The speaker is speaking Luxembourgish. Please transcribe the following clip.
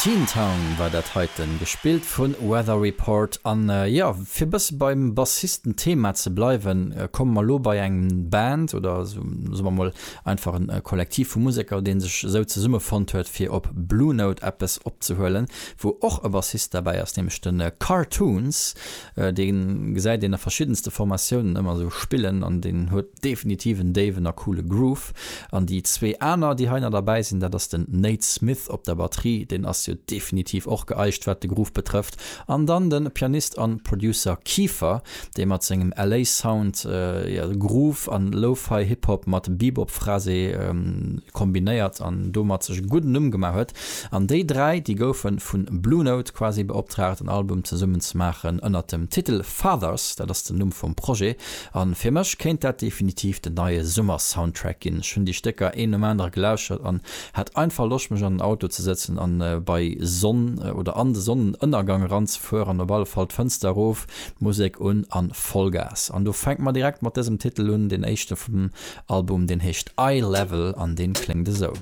Teen Town war dat heiten, gespillt vu Weather Report. An jo, fir bësse beim Bassisten-Thema ze bleiwen, komme mer elo bei eng Band, oder soe mer mol einfach e Kollektiv vu Museker, dee sech esou zesummefonnt huet, fir op Blue Note eppes opzehuelen, wou och e Bassist derbäi ass, nämlech de Cartoons. Dee gesäit een a verschiddenste Formatiounen ëmmer esou spillen an deen huet definitiv en déiwen a coole Groove. An déi zwee aner, déi hei nach derbäi sinn, dat ass den Nate Smith op der Batterie, deen ass jo definitiv och geeicht, wat de Groove betrëfft, an dann de Pianist an Producer Kiefer, dee mat sengem LA Sound Groove an Lo-Fi Hip Hop mat Bebop Phrasé kombinéiert an domat sech e gudden Numm gemaach huet. An déi 3, déi goufe vu Blue Note quasi beoptraagt en Album zesummen ze maachen ënnert dem Titel Fathers, dat ass den Numm vum Projet. An fir mech kéint dat definitiv den neie Summer-Soundtrack ginn. Ech hunn déi Stécker een nom anere gelauschert an hat einfach Loscht mech an den Auto ze sëtzen an bei Sonn oder an de Sonnenënnergang eranzefueren. Op alle Fall d'Fënster erof, d'Musek un an Vollgas. An do fänke mer direkt mat dësem Titel un, deen éischte vum Album, deen heescht Eye Level an deen kléngt esou.